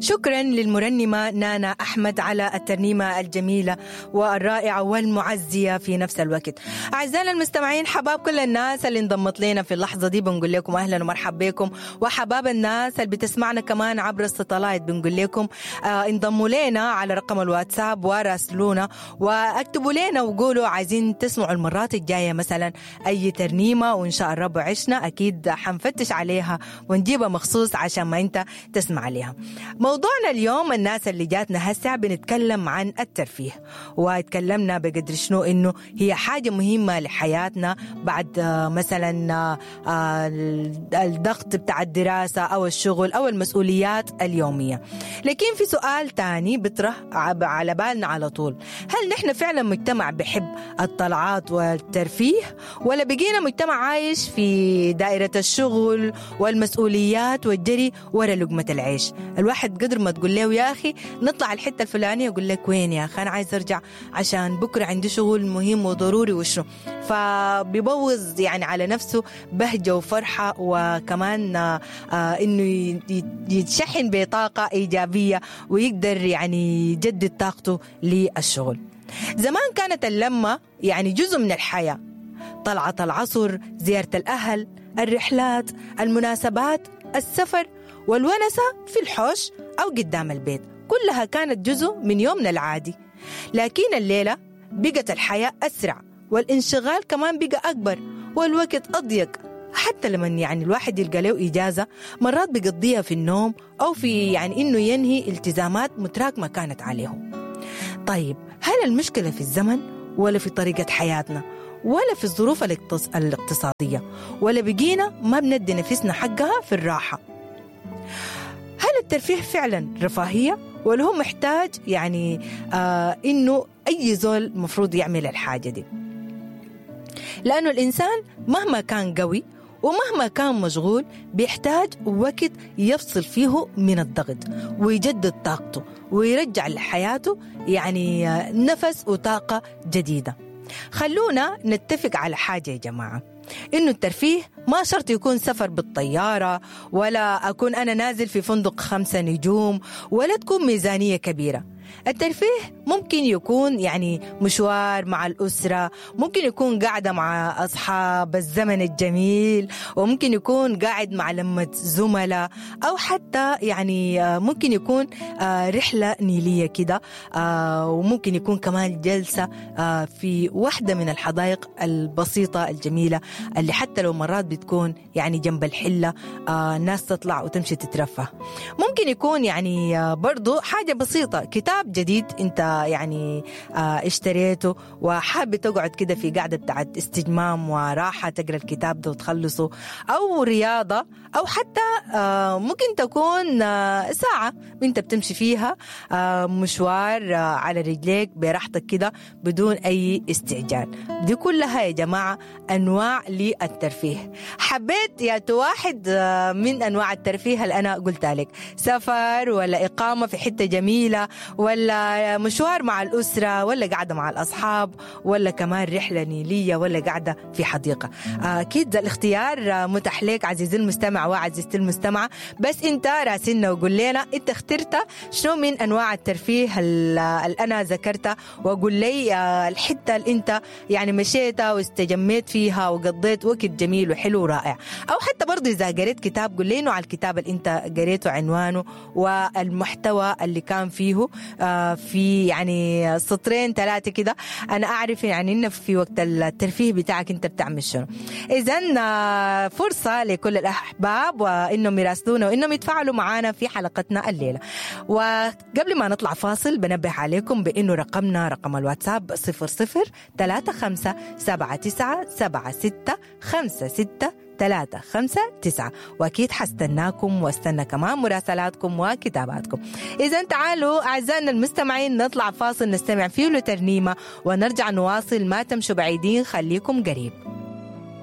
شكرا للمرنمة نانا أحمد على الترنيمة الجميلة والرائعة والمعزية في نفس الوقت. أعزائنا المستمعين، حباب كل الناس اللي انضمت لنا في اللحظة دي، بنقول لكم أهلا ومرحبا بكم، وحباب الناس اللي بتسمعنا كمان عبر الستلايت بنقول لكم انضموا لنا على رقم الواتساب وراسلونا واكتبوا لنا وقولوا عايزين تسمعوا المرات الجاية مثلا أي ترنيمة، وإن شاء الرب عشنا أكيد حنفتش عليها ونجيبها مخصوص عشان ما أنت تسمع عليها. موضوعنا اليوم الناس اللي جاتنا هسه بنتكلم عن الترفيه، واتكلمنا بقدر شنو إنه هي حاجة مهمة لحياتنا بعد مثلا الضغط بتاع الدراسة أو الشغل أو المسؤوليات اليومية. لكن في سؤال تاني بطرح على بالنا على طول، هل نحن فعلا مجتمع بحب الطلعات والترفيه، ولا بقينا مجتمع عايش في دائرة الشغل والمسؤوليات والجري ورا لقمة العيش؟ الواحد قدر ما تقول له يا أخي نطلع الحتة الفلانية يقول لك وين يا أخي، أنا عايز أرجع عشان بكرة عندي شغل مهم وضروري وشنو، فبيبوظ يعني على نفسه بهجة وفرحة، وكمان إنه يتشحن بطاقة إيجابية ويقدر يعني يجدد طاقته للشغل. زمان كانت اللمة يعني جزء من الحياة، طلعة العصر، زيارة الأهل، الرحلات، المناسبات، السفر، والونسة في الحوش أو قدام البيت، كلها كانت جزء من يومنا العادي. لكن الليلة بقت الحياة أسرع، والانشغال كمان بقى أكبر، والوقت أضيق. حتى لما يعني الواحد يلقى له إجازة مرات بيقضيها في النوم أو في يعني إنه ينهي التزامات متراكمة كانت عليهم. طيب هل المشكلة في الزمن، ولا في طريقة حياتنا، ولا في الظروف الاقتصادية، ولا بقينا ما بندي نفسنا حقها في الراحة؟ هل الترفيه فعلا رفاهية، ولا هو محتاج يعني إنه أي زول مفروض يعمل الحاجة دي؟ لأنه الإنسان مهما كان قوي ومهما كان مشغول بيحتاج وقت يفصل فيه من الضغط ويجدد طاقته ويرجع لحياته يعني نفس وطاقة جديدة. خلونا نتفق على حاجة يا جماعة، إنه الترفيه ما شرط يكون سفر بالطيارة، ولا أكون أنا نازل في فندق 5 نجوم، ولا تكون ميزانية كبيرة. الترفيه ممكن يكون يعني مشوار مع الأسرة، ممكن يكون قاعدة مع أصحاب الزمن الجميل، وممكن يكون قاعد مع لمة زملاء، أو حتى يعني ممكن يكون رحلة نيلية كده، وممكن يكون كمان جلسة في واحدة من الحدائق البسيطة الجميلة اللي حتى لو مرات بتكون يعني جنب الحلة، الناس تطلع وتمشي تترفه. ممكن يكون يعني برضو حاجة بسيطة، كتاب جديد انت يعني اشتريته وحابب تقعد كده في قعدة بتاعت استجمام وراحة تقرأ الكتاب ده وتخلصه، أو رياضة، أو حتى ممكن تكون ساعة انت بتمشي فيها مشوار على رجليك براحتك كده بدون أي استعجال. دي كلها يا جماعة أنواع للترفيه. حبيت يا واحد من أنواع الترفيه اللي أنا قلتها لك، سفر ولا إقامة في حتة جميلة، ولا مشوار مع الأسرة، ولا قاعدة مع الأصحاب، ولا كمان رحلة نيلية، ولا قاعدة في حديقة. أكيد الاختيار متاح لك عزيزي المستمع وعزيزتي المستمعة، بس أنت راسلنا وقول لنا أنت اخترت شنو من أنواع الترفيه اللي أنا ذكرتها، وقول لي الحتة اللي أنت يعني مشيتها واستجميت فيها وقضيت وقت جميل وحلو ورائع. أو حتى برضو إذا قريت كتاب قول لي إنه على الكتاب اللي أنت قريته عنوانه والمحتوى اللي كان فيه في يعني سطرين 3 كده، أنا أعرف يعني إنه في وقت الترفيه بتاعك أنت بتعمل شنو. إذن فرصة لكل الأحباب وإنهم يراسلونا وإنهم يتفاعلوا معنا في حلقتنا الليلة. وقبل ما نطلع فاصل بنبه عليكم بإنه رقمنا رقم الواتساب 00 35 79 76 56 3 5 9، وأكيد حستناكم واستنى كمان مراسلاتكم وكتاباتكم. إذا تعالوا أعزائنا المستمعين نطلع فاصل نستمع فيه لترنيمة ونرجع نواصل، ما تمشوا بعيدين، خليكم قريب.